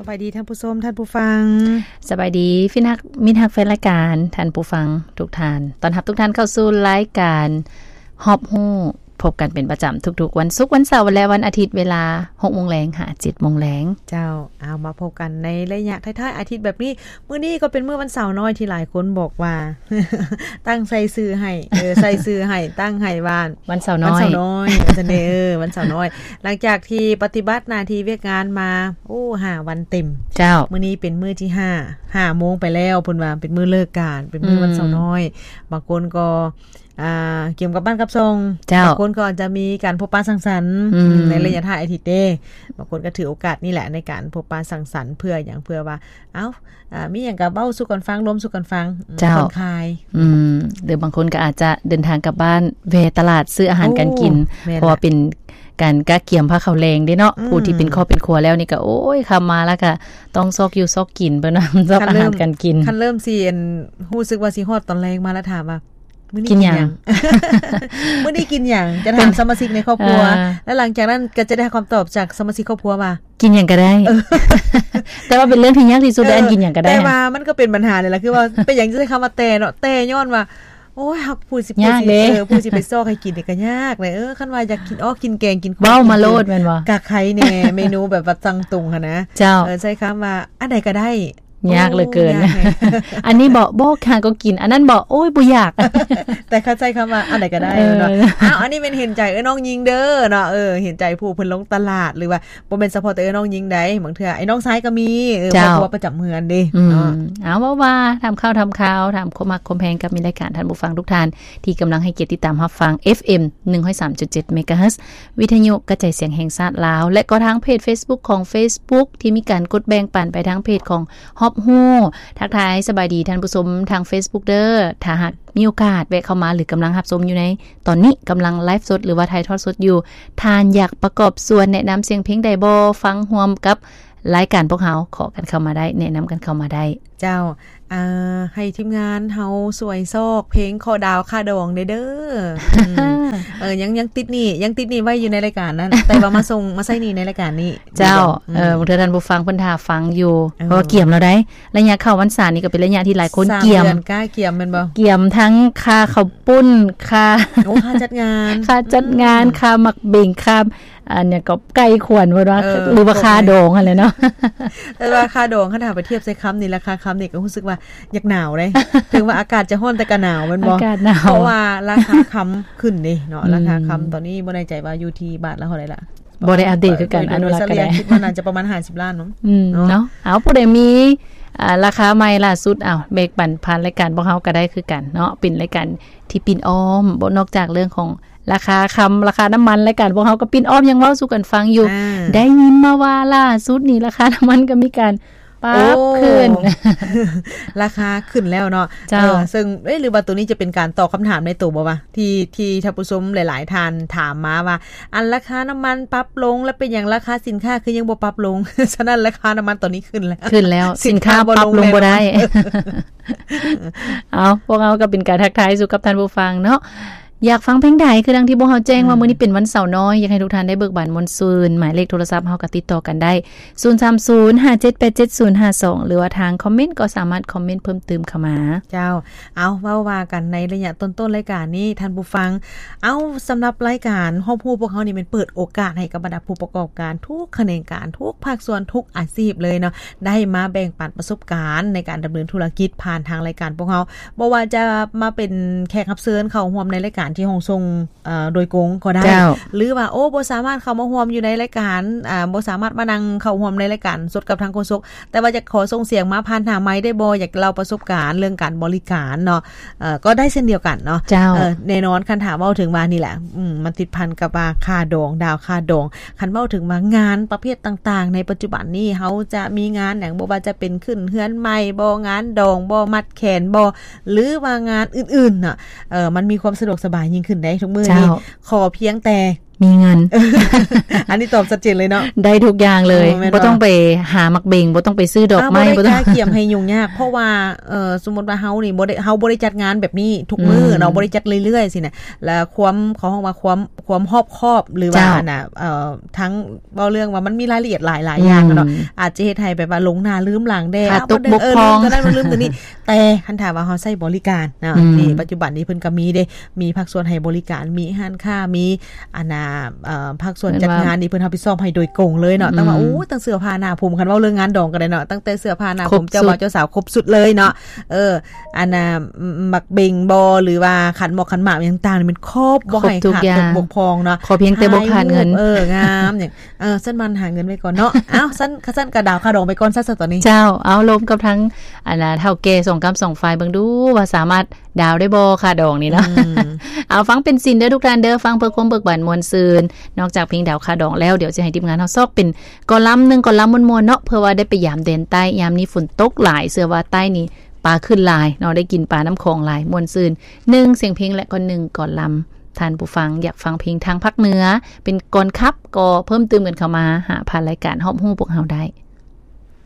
ບາຍດີທ່ານຜູ້ຊົມ, ທ່ານຜູ້ຟັງ. ສະບາຍດີພີ່ຮັກ, ມິດຮັກແຟນລາຍການ, ທ່ານຜູ້ຟັງທຸກທ່ານ. ຕ້ອນຮັບທຸກທ່ານເຂົ້າສູ່ລາຍການຮອບຮູ້, ພົບກັນເປັນປະຈຳທຸກໆວັນສຸກ, ວັນເສົາ ແລະ ວັນອາທິດ, ເວລາຫົກໂມງແລງຫາເຈັດໂມງແລງ. ເຈົ້າ, ເອົາ ມາພົບກັນໃນໄລຍະທ້າຍໆອາທິດແບບນີ້. ມື້ນີ້ກໍເປັນມື້ວັນເສົານ້ອຍທີ່ຫຼາຍຄົນບອກວ່າ ຕັ້ງໃສ່ຊື່ໃຫ້, ເອີ, ໃສ່ຊື່ໃຫ້, ຕັ້ງໃຫ້ວ່າ ວັນເສົານ້ອຍ, ວັນເສົານ້ອຍ ວ່າຊັ້ນເດ້, ເອີ, ວັນເສົານ້ອຍ. ຫຼັງຈາກທີ່ປະຕິບັດໜ້າທີ່ວຽກງານມາ, ໂອ້, ຫ້າວັນເຕັມ. ເຈົ້າ. ມື້ນີ້ເປັນມື້ທີຫ້າ, ຫ້າໂມງໄປແລ້ວ, ເພິ່ນວ່າເປັນມື້ເລີກການ, ເປັນມື້ວັນເສົານ້ອຍ. ອືມ. ບາງຄົນກໍ ອ່າ ກຽມກັບບ້ານກັບຊ່ອງ. ເຈົ້າ. ບາງຄົນກໍອາດຈະມີການພົບປະສັງສັນ ອືມ ໃນໄລຍະທ້າຍອາທິດເດ້. ບາງຄົນກໍຖືໂອກາດນີ້ແຫຼະໃນການພົບປະສັງສັນ ເພື່ອຫຍັງ? ເພື່ອວ່າ ເອົ້າ ອ່າ ມີຫຍັງກໍເວົ້າສູ່ກັນຟັງ, ລວມສູ່ກັນຟັງ, ເຈົ້າ ຜ່ອນຄາຍ. ອືມ ຫຼືບາງຄົນກໍອາດຈະເດີນທາງກັບບ້ານ, ແວ່ຕະຫຼາດຊື້ອາຫານການກິນ. ໂອ້ ແມ່ນລະ. ເພາະວ່າເປັນການກະກຽມພາເຂົ້າແລງເດ້ເນາະ. ອືມ. ຜູ້ທີ່ເປັນຄອບເປັນຄົວແລ້ວນີ້ກໍ ໂອ້ຍ, ຄ່ຳມາແລ້ວກໍຕ້ອງຊອກຢູ່ຊອກກິນ, ເພິ່ນວ່າຊອກອາຫານການກິນ. ຄັນເລີ່ມ, ຄັນເລີ່ມຊິ ອັນ ຮູ້ສຶກວ່າຊິຮອດຕອນແລງມາແລ້ວ ຖາມວ່າ ມື້ນີ້ກິນຫຍັງ? ມື້ນີ້ກິນຫຍັງ? ຈະຖາມສະມາຊິກໃນຄອບຄົວ ເອີ ແລ້ວຫຼັງຈາກນັ້ນກໍຈະໄດ້ຮັບຄຳຕອບຈາກສະມາຊິກຄອບຄົວວ່າ ກິນຫຍັງກໍໄດ້. ເອີ ແຕ່ວ່າເປັນເລື່ອງທີ່ຍາກທີ່ສຸດເດ້ ເອີ ອັນກິນຫຍັງກໍໄດ້. ແຕ່ວ່າມັນກໍເປັນບັນຫານີ້ແຫຼະ ຄືວ່າເປັນຫຍັງຈຶ່ງໃຊ້ຄຳວ່າແຕ່ເນາະ, ແຕ່ຍ້ອນວ່າ ໂອ້ຍ ເຮົາ ຜູ້ຊິ ຍາກເດ້ ເອີ ຜູ້ຊິໄປຊອກໃຫ້ກິນນີ້ກໍຍາກເລີຍ. ເອີ ຄັນວ່າຢາກກິນອອກກິນແກງ ກິນ ເວົ້າມາໂລດແມ່ນບໍ່? ກະໄຄແດ່ ເມນູແບບວ່າສັ່ງຕົງຫັ້ນນະ. ເຈົ້າ. ເອີ ໃຊ້ຄຳວ່າອັນໃດກໍໄດ້. ຍາກເຫຼືອເກີນ. ໂອ້ ຍາກແຮງ. ອັນນີ້ເບາະ ບໍ່ ຫາກໍກິນ, ອັນນັ້ນເບາະ ໂອ້ຍ ບໍ່ຢາກ. ແຕ່ຄັນໃຊ້ຄຳວ່າອັນໃດກໍໄດ້ ເອີ ເນາະ. ອ້າວ ອັນນີ້ແມ່ນເຫັນໃຈເອື້ອຍນ້ອງຍິງເດີເນາະ, ເອີ ເຫັນໃຈຜູ້ເພິ່ນລົງຕະຫຼາດ ຫຼືວ່າບໍ່ແມ່ນສະເພາະແຕ່ເອື້ອຍນ້ອງຍິງໃດ, ບາງເທື່ອອ້າຍນ້ອງຊາຍກໍມີ, ເອີ ເຈົ້າ ຄອບຄົວປະຈຳເຮືອນເດ້ ອືມ ເນາະ. ເອົາ ເວົ້າວ່າຖາມຂ່າວຖາມຄາວ ຖາມຄວາມຮັກຄວາມແພງກັບມິດລາຍການ, ທ່ານຜູ້ຟັງທຸກທ່ານທີ່ກຳລັງໃຫ້ກຽດຕິດຕາມຮັບຟັງ ເອັຟເອັມ ໜຶ່ງຮ້ອຍສາມຈຸດເຈັດ ເມກາເຮີດ ວິທະຍຸກະຈາຍສຽງແຫ່ງຊາດລາວ ແລະ ກໍທາງເພຈເຟສບຸກຂອງເຟສບຸກທີ່ມີການກົດແບ່ງປັນໄປທາງເພຈຂອງຮອບຮູ້. ທັກທາຍສະບາຍດີທ່ານຜູ້ຊົມທາງເຟສບຸກເດີ. ຖ້າຫາກມີໂອກາດແວະເຂົ້າມາ ຫຼື ກຳລັງຮັບຊົມຢູ່ໃນຕອນນີ້, ກຳລັງໄລຟ໌ສົດ ຫຼືວ່າຖ່າຍທອດສົດຢູ່, ທ່ານຢາກປະກອບສ່ວນແນະນຳສຽງເພງໃດບໍ່? ຟັງຮ່ວມກັບລາຍການພວກເຮົາ, ຂໍກັນເຂົ້າມາໄດ້, ແນະນຳກັນເຂົ້າມາໄດ້. ເຈົ້າ. ອ່າ ໃຫ້ທີມງານເຮົາຊ່ວຍຊອກເພງຂໍດາວຄ່າດອງແດ່ເດີ. ອືມ ເອີ ຍັງ ຍັງຕິດໜີ້ ຍັງຕິດໜີ້ໄວ້ຢູ່ໃນລາຍການນັ້ນ, ແຕ່ວ່າມາສົ່ງ ມາໃຊ້ໜີ້ໃນລາຍການນີ້. ເຈົ້າ. ອືມ ເອີ ບາງເທື່ອທ່ານຜູ້ຟັງເພິ່ນຖ້າຟັງຢູ່, ເອີ ເພາະວ່າກຽມແລ້ວໃດ໋. ໄລຍະເຂົ້າພັນສານີ້ກໍເປັນໄລຍະທີ່ຫຼາຍຄົນກຽມ, ສາມເດືອນກ້າກຽມແມ່ນບໍ່? ກຽມທັງຄ່າເຂົ້າປຸ້ນ, ຄ່າ ໂອ້ ຄ່າຈັດງານ, ຄ່າຈັດງານ, ອືມ ຄ່າໝາກເບັງ, ຄ່າ ອັນຫຍັງກໍໄກ່ຂວັນເພິ່ນວ່າ ເອີ ຫຼືວ່າຄ່າດອງຫັ້ນແຫຼະເນາະ. ແຕ່ວ່າຄ່າດອງ ຄັນຖ້າໄປທຽບໃສ່ຄຳນີ້ ລາຄາຄຳນີ້ກໍຮູ້ສຶກວ່າຢາກໜາວເດ້. ເຖິງວ່າອາກາດຈະຮ້ອນແຕ່ກໍໜາວແມ່ນບໍ່? ອາກາດໜາວ ເພາະວ່າລາຄາຄຳຂຶ້ນເດ້ເນາະ. ອືມ ລາຄາຄຳຕອນນີ້ບໍ່ແນ່ໃຈວ່າຢູ່ທີ່ບາດລະເທົ່າໃດລະ, ບໍ່ໄດ້ອັບເດດຄືກັນ. ໂດຍ ອັນ ໂດຍ ວ່າ ສະເລີຍ ລາຄາ ຄິດວ່າໜ້າຈະປະມານຫ້າສິບລ້ານເນາະ. ອືມ ເນາະ ເນາະ. ເອົາ ຜູ້ໃດມີ ອ່າ ລາຄາໃໝ່ລ່າສຸດ ເອົາ ແບ່ງປັນຜ່ານລາຍການພວກເຮົາກໍໄດ້ຄືກັນເນາະ. ເປັນລາຍການທີ່ປິ່ນອ້ອມ ບໍ່ ນອກຈາກເລື່ອງຂອງ ລາຄາຄຳ ລາຄານ້ຳມັນ, ລາຍການພວກເຮົາກໍປິ່ນອ້ອມຍັງເວົ້າສູ່ກັນຟັງຢູ່. ອ່າ ໄດ້ຍິນມາວ່າລ່າສຸດນີ້ລາຄານ້ຳມັນກໍມີການປັບ ໂອ້ ຂຶ້ນ ລາຄາຂຶ້ນແລ້ວເນາະ. ເຈົ້າ. ເອີ ເຊິ່ງ ເອີ ຫຼືວ່າໂຕນີ້ຈະເປັນການຕອບຄຳຖາມໃນໂຕບໍ່ວະ ທີ່ ທີ່ທ່ານຜູ້ຊົມຫຼາຍໆທ່ານຖາມມາວ່າ ອັນລາຄານ້ຳມັນປັບລົງ ແລ້ວເປັນຫຍັງລາຄາສິນຄ້າຄືຍັງບໍ່ປັບລົງ? ສະນັ້ນລາຄານ້ຳມັນຕອນນີ້ຂຶ້ນແລ້ວ ຂຶ້ນແລ້ວ ສິນຄ້າ ສິນຄ້າບໍ່ລົງ ປັບລົງບໍ່ໄດ້. ເອົາ ພວກເຮົາກໍເປັນການທັກທາຍສູ່ກັບທ່ານຜູ້ຟັງເນາະ. ຢາກຟັງເພງໃດ ຄືດັ່ງທີ່ພວກເຮົາແຈ້ງວ່າ ອືມ ມື້ນີ້ເປັນວັນເສົານ້ອຍ, ຢາກໃຫ້ທຸກທ່ານໄດ້ເບີກບານມ່ວນຊື່ນ. ໝາຍເລກໂທລະສັບເຮົາກໍຕິດຕໍ່ກັນໄດ້ ສູນສາມສູນ ຫ້າເຈັດແປດເຈັດ ສູນຫ້າສອງ ຫຼືວ່າທາງຄອມເມັນກໍສາມາດຄອມເມັນເພີ່ມຕື່ມເຂົ້າມາ. ເຈົ້າ. ເອົາ ເວົ້າວ່າກັນໃນໄລຍະຕົ້ນໆລາຍການນີ້ ທ່ານຜູ້ຟັງ. ເອົາ ສຳລັບລາຍການຮອບຮູ້ພວກເຮົານີ້ ແມ່ນເປີດໂອກາດໃຫ້ກັບບັນດາຜູ້ປະກອບການທຸກຂະແໜງການ, ທຸກພາກສ່ວນ, ທຸກອາຊີບເລີຍເນາະ, ໄດ້ມາແບ່ງປັນປະສົບການໃນການດຳເນີນທຸລະກິດຜ່ານທາງລາຍການພວກເຮົາ. ບໍ່ວ່າຈະມາເປັນແຂກຮັບເຊີນເຂົ້າຮ່ວມໃນລາຍການທີ່ຫ້ອງສົ່ງ ເອີ ໂດຍກົງກໍໄດ້ ເຈົ້າ ຫຼືວ່າ ໂອ້ ບໍ່ສາມາດເຂົ້າມາຮ່ວມຢູ່ໃນລາຍການ, ອ່າ ບໍ່ສາມາດມານັ່ງເຂົ້າຮ່ວມໃນລາຍການສົດກັບທາງໂຄສົກ, ແຕ່ວ່າຢາກຂໍສົ່ງສຽງມາຜ່ານທາງໄມ ໄດ້ບໍ່? ຢາກເລົ່າປະສົບການເລື່ອງການບໍລິການເນາະ, ເອີ ກໍໄດ້ເຊັ່ນດຽວກັນເນາະ. ເຈົ້າ. ເອີ ແນ່ນອນ ຄັນຖ້າເວົ້າເຖິງວ່ານີ້ແຫຼະ, ອືມ ມັນຕິດພັນກັບວ່າຄ່າດອງ, ດາວຄ່າດອງ. ຄັນເວົ້າເຖິງວ່າງານປະເພດຕ່າງໆໃນປັດຈຸບັນນີ້ ເຮົາຈະມີງານຫຍັງ? ບໍ່ວ່າຈະເປັນຂຶ້ນເຮືອນໃໝ່ບໍ, ງານດອງບໍ, ມັດແຂນບໍ ຫຼືວ່າງານອື່ນໆເນາະ, ເອີ ມັນມີຄວາມສະດວກສະບາຍຍິ່ງຂຶ້ນເດ້ທຸກມື້ນີ້. ເຈົ້າ. ຂໍພຽງແຕ່ ມີເງິນ ອັນນີ້ຕອບຊັດເຈນເລີຍເນາະ ໄດ້ທຸກຢ່າງເລີຍ ເອີ ແມ່ນບໍ່? ບໍ່ຕ້ອງໄປຫາໝາກເບັງ ບໍ່ຕ້ອງໄປຊື້ດອກໄມ້ ບໍ່ຕ້ອງໄປກາກຽມໃຫ້ຫຍຸ້ງຍາກ ເພາະວ່າ ເອີ ສົມມຸດວ່າເຮົານີ້ບໍ່ໄດ້ ເຮົາບໍ່ໄດ້ຈັດງານແບບນີ້ທຸກມື້ເນາະ ອືມ ບໍ່ໄດ້ຈັດເລື້ອຍໆຊີ້ນະ ແລ້ວຄວາມ ເຂົາຮ້ອງວ່າຄວາມ ຄວາມຮອບຄອບ ຫຼືວ່າ ເຈົ້າ ອັນນ່າ ເອີ ທັງ ເວົ້າເລື່ອງວ່າມັນມີລາຍລະອຽດຫຼາຍໆຢ່າງເນາະ ອືມ ອາດຈະເຮັດໃຫ້ແບບວ່າຫຼົງໜ້າລືມຫຼັງແດ່ ຂາດຕົກ ເອົາ ບໍ່ ເອີ ລືມຕົວນັ້ນ ລືມຕົວນີ້ ແຕ່ຄັນຖ້າວ່າເຮົາໃຊ້ບໍລິການເນາະ ອືມ ນີ້ປັດຈຸບັນນີ້ເພິ່ນກໍມີເດ້ ມີພາກສ່ວນໃຫ້ບໍລິການ ມີຮ້ານຄ້າ ມີ ອັນນ່າ ເອີ ພາກສ່ວນຈັດງານນີ້ເພິ່ນຮັບຜິດຊອບໃຫ້ໂດຍກົງເລີຍເນາະ ແມ່ນວ່າ ຕັ້ງວ່າ ອືມ ໂອ້ ຕັ້ງເສື້ອຜ້າໜ້າຜົມ ຄັນເວົ້າເລື່ອງງານດອງກໍໄດ້ເນາະ ຕັ້ງແຕ່ເສື້ອຜ້າໜ້າຜົມ ເຈົ້າບ່າວເຈົ້າສາວຄົບຊຸດເລີຍເນາະ ເອີ ອັນນ່າ ໝາກເບັງບໍ ຫຼືວ່າຂັນໝອກຂັນໝາກຫຍັງຕ່າງໆ ນີ້ແມ່ນຄົບ ບໍ່ໃຫ້ຂາດຕົກບົກຜ່ອງເນາະ ຂໍພຽງແຕ່ບໍ່ຂາດເງິນ ເອີ ງາມຫຍັງ ເອີ ຊັ້ນມັນຫາເງິນໄວ້ກ່ອນເນາະ ເອົ້າ ຊັ້ນ ຄັນຊັ້ນກໍດາວຄ່າດອງໄປກ່ອນຊະ ຕອນນີ້ ເຈົ້າ ເອົາລົມກັບທາງ ອັນນ່າ ເຖົ້າແກ່ສອງກ້ຳສອງຝ່າຍເບິ່ງດູວ່າສາມາດດາວໄດ້ບໍ່ ຄ່າດອງນີ້ເນາະ ອືມ ເອົາ ຟັງເປັນສິນເດີ ທຸກທ່ານເດີ ຟັງເພື່ອຄວາມເບີກບານມ່ວນຊື່ນ ນອກຈາກເພງດາວຄ່າດອງແລ້ວ ດຽວຊິໃຫ້ທີມງານເຮົາຊອກເປັນກອລາມໜຶ່ງ ກອລາມມ່ວນໆເນາະ ເພື່ອວ່າໄດ້ໄປຢາມແດນໃຕ້ ຍາມນີ້ຝົນຕົກຫຼາຍ ເຊື່ອວ່າໃຕ້ນີ້ປາຂຶ້ນຫຼາຍເນາະ ໄດ້ກິນປານ້ຳຂອງຫຼາຍ ມ່ວນຊື່ນ ໜຶ່ງສຽງເພງ ແລະກໍໜຶ່ງກອລາມ ທ່ານຜູ້ຟັງຢາກຟັງເພງທາງພາກເໜືອ ເປັນກອນຂັບ ກໍເພີ່ມຕື່ມກັນເຂົ້າມາຫາຜ່ານລາຍການຮອບຮູ້ພວກເຮົາໄດ້.